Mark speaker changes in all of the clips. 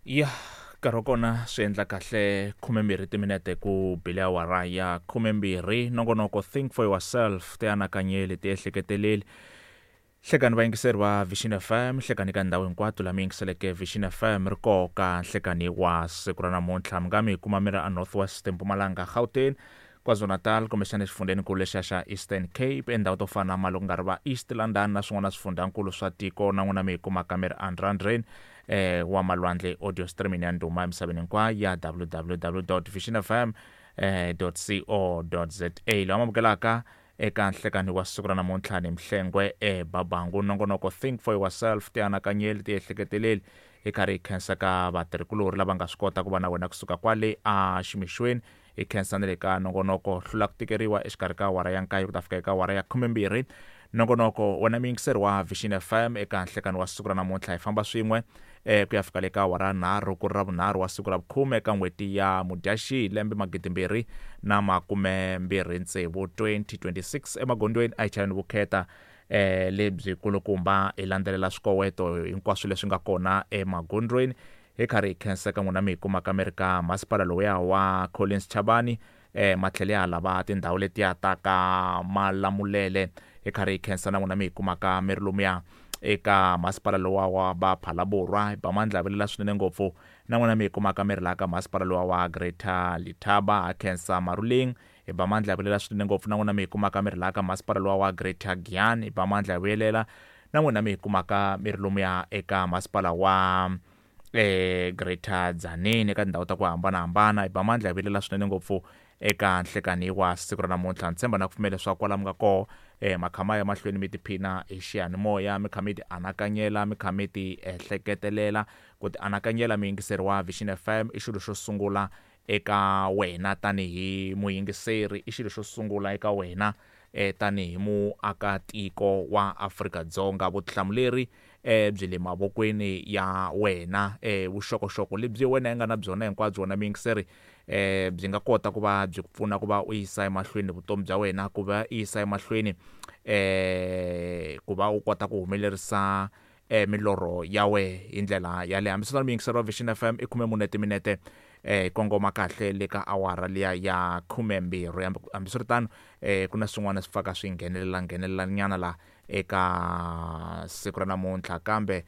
Speaker 1: Ya nkarhi wa kona swi endla kahle 12 timinete ku bile awara ya 12. Nongonoko Think for Yourself, ti anakanyeli, ti ehleketeleli. Hlekani vayingiseri va Vision FM, hlekani ka ndhawu hinkwato laha mi yingiseleke Vision FM ri koka nhlekani wa siku ra namuntlha. Mi nga mi kuma mi ri a North West, Mpumalanga, Gauteng, KwaZulu-Natal kumbexana exifundzheninkulu lexiya xa Eastern Cape, endhawu to fana na loko nga ri va East London na swin'wana swifundzhankulu swa tiko, na n'wina mi yi kumaka mi ri endrandreni wa malwandle audio streaming ya ndhuma emisaveni hinkwayo ya www.visionfm .co.za. Lawa mamukelaka eka nhlekani wa siku ra namuntlha ni Mhlengwe eBabangu. Nongonoko Think for Yourself, tianakanyeli, tiehleketeleli, hi karhi hi khensa ka vatirhikulorhi lava nga swi kota ku va na wena kusuka kwale a ximixweni. Hi khensa na le ka nongonoko Hlula ku Tikeriwa exikarhi ka awara ya nkaye ku ta fika eka awara ya 12. Nongonoko wena muyingiseri wa Vision FM eka nhlekani wa siku ra namuntlha hi famba swin'we ku ya fika le ka awara nharhu ku ri Ravunharhu wa siku ra vukhume eka n'hweti ya Mudyaxihi lembe 2026, 2026. Emagondzweni a hi chayeni vukheta lebyi kulukumba, hi landzelela swikoweto hinkwaswo leswi nga kona emagondzweni. Hi karhi hi khensa ka n'wina mi hi kumaka mi ri ka masipala lowuya wa Collins Chabane, matlhelo ya lava tindhawu letiya ta ka Malamulele. Hi karhi hi khensa na n'wina mi hi kumaka mi ri lomuya eka masipala lowa wa ba Phalaborwa, hi ba mandla vilela swinene ngopfu. Na n'wina mi hi kumaka mi ri laha ka masipala lowa wa Greater Letaba, ha khensa Maruleng, hi ba mandla vilela swinene ngopfu. Na n'wina mi hi kumaka mi ri laha ka masipala lowa wa Greater Giyani, hi ba mandla vuyelela. Na n'wina mi hi kumaka mi ri lomuya eka masipala wa Greater Tzaneen eka tindhawu ta ku hambanahambana, hi ba mandla hi vilela swinene ngopfu eka nhlekani wa siku ra namuntlha. Ni tshemba na ku pfumela leswaku kwala mi nga koho makhama ya mahlweni mi tiphina hi xiyanimoya, mi kha mi ti anakanyela, mi kha mi ti ehleketelela. Ku ti anakanyela muyingiseri wa Vision FM i xilo xo sungula eka wena tanihi muyingiseri, i xilo xo sungula eka wena tanihi muakatiko wa Afrika-Dzonga. Vutihlamuleri byi le mavokweni ya wena. Vuxokoxoko lebyi wena yi nga na byona hinkwabyo wena muyingiseri byi nga kota ku va byi ku pfuna ku va u yisa emahlweni vutomi bya wena, ku va u yisa emahlweni ku va u kota ku humelerisa milorho ya we hi ndlela yaleyo. Hambiswiritano muyingiseri wa Vision FM i 14 timinete hi kongoma kahle le ka awara liya ya 12. Hambiswiritano ku na swin'wana swi pfaka swi nghenelela nghenelela nyana la eka siku ra namuntlha, kambe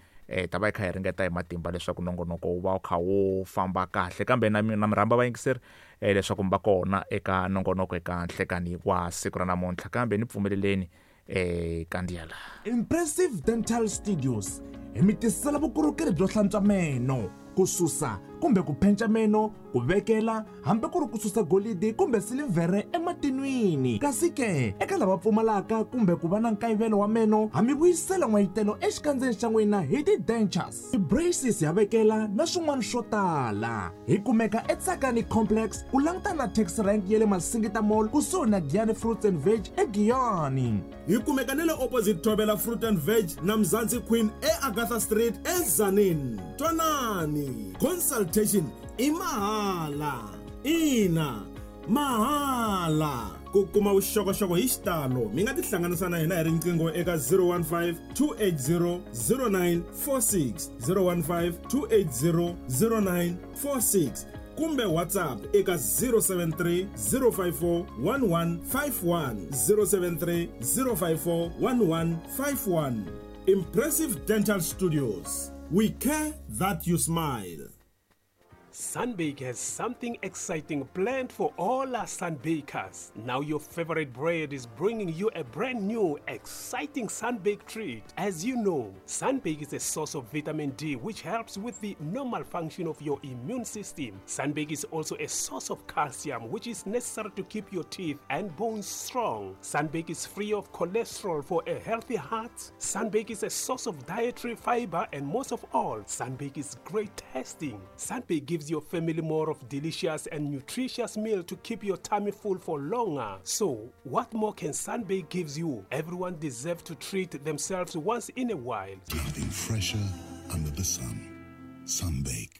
Speaker 1: ta va hi kha hi ringeta hi matimba leswaku nongonoko wu va wu kha wu famba kahle. Kambe na na mi rhamba vayingiseri leswaku mi va kona eka nongonoko eka nhlekani wa siku ra namuntlha, kambe ni pfumeleleni kandziya la.
Speaker 2: Impressive Dental Studios hi mi tisela vukorhokeri byo hlantswa meno, ku susa kumbe ku phenca meno, ku vekela hambi ku ri ku susa golidi kumbe silivhere ematinwini. Kasi ke eka lava pfumalaka kumbe ku va na nkayivelo wa meno, ha mi vuyisela n'wayitelo exikandzeni xa n'wina hi ti-dentures, ti-braces ya vekela na swin'wana swo tala. Hi kumeka eTsakani Complex ku langutana na taxi rank ya le Masingita Mall kusuhi na Giyani Fruits and Veg eGiyani.
Speaker 3: Hi kumeka ni le opposite Thobela Fruit and Veg na Mzansi Queen eAgatha Street eTzaneen. Twanani, consultation i mahala. Ina, mahala. Ku kuma vuxokoxoko hi xitalo mi nga tihlanganisa na hina hi riqingho eka 015 280 0946, 015 280 0946 kumbe WhatsApp eka 073 054 1151, 073 054 1151. Impressive Dental Studios, we care that you smile.
Speaker 4: Sunbake has something exciting planned for all our sunbakers. Now your favorite bread is bringing you a brand new, exciting Sunbake treat. As you know, Sunbake is a source of vitamin D, which helps with the normal function of your immune system. Sunbake is also a source of calcium, which is necessary to keep your teeth and bones strong. Sunbake is free of cholesterol for a healthy heart. Sunbake is a source of dietary fiber, and most of all, Sunbake is great tasting. Sunbake gives your family more of delicious and nutritious meal to keep your tummy full for longer. So, what more can Sunbake gives you? Everyone deserves to treat themselves once in a while.
Speaker 5: Nothing fresher under the sun. Sunbake.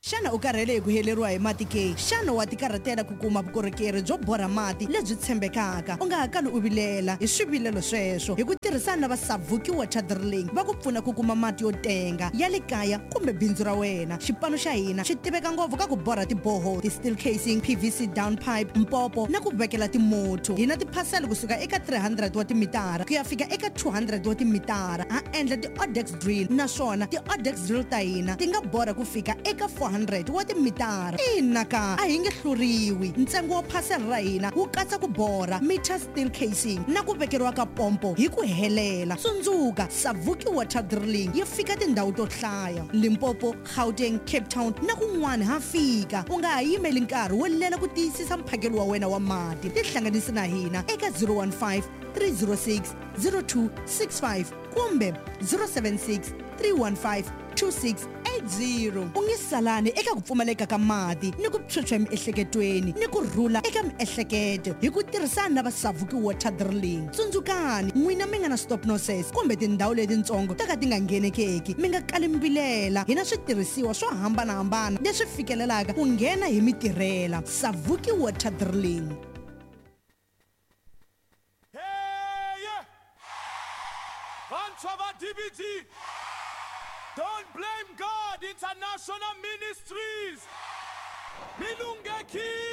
Speaker 5: Xana u karhele hi ku heleriwa hi mati ke? Xana wa tikarhatela ku kuma vukorhokeri byo borha mati lebyi tshembekaka? U nga ha kali u vilela hi swivilelo sweswo. Hi ku tirhisana na va Savuki Water Drilling va ku pfuna ku kuma mati yo tenga ya le kaya kumbe bindzu ra wena. Xipano xa hina xi tiveka ngopfu ka ku borha tiboho, ti-steel casing, PVC down pipe, mpopo na ku vekela timotho. Hi na tiphasela kusuka eka 300 wa timitara ku ya fika eka 200 wa timitara. Ha endla ti-odex drill naswona ti-odex drill ta hina ti nga borha ku fika eka 400 wa timitara. Ina ka a hi nge hluriwi. Ntsengo wa phasela ra hina wu katsa ku borha, meter steel casing na ku vekeriwa ka pompo hi ku helela. Tsundzuka, Savuki Water Drilling yi fika tindhawu to hlaya: Limpopo, Gauteng, Cape Town na kun'wana ha fika. U nga ha yimeli nkarhi wo lela ku tiyisisa mphakelo wa wena wa mati. Tihlanganisi na hina eka 015 306 0265 kumbe 076 315 2680. U nge salani eka ku pfumaleka ka mati ni ku phyuphya emiehleketweni ni ku rhula eka miehleketo hi ku tirhisana na va Savuki Water Drilling. Tsundzukani, n'wina mi nga na stop nonsense kumbe tindhawu letitsongo to ka ti nga nghenekeki, mi nga kali mi vilela. Hi na switirhisiwa swo hambanahambana leswi fikelelaka ku nghena hi mitirhela. Savuki Water Drilling.
Speaker 6: Vantshwa va DBT, Don't Blame God International Ministries, mi lunghekile.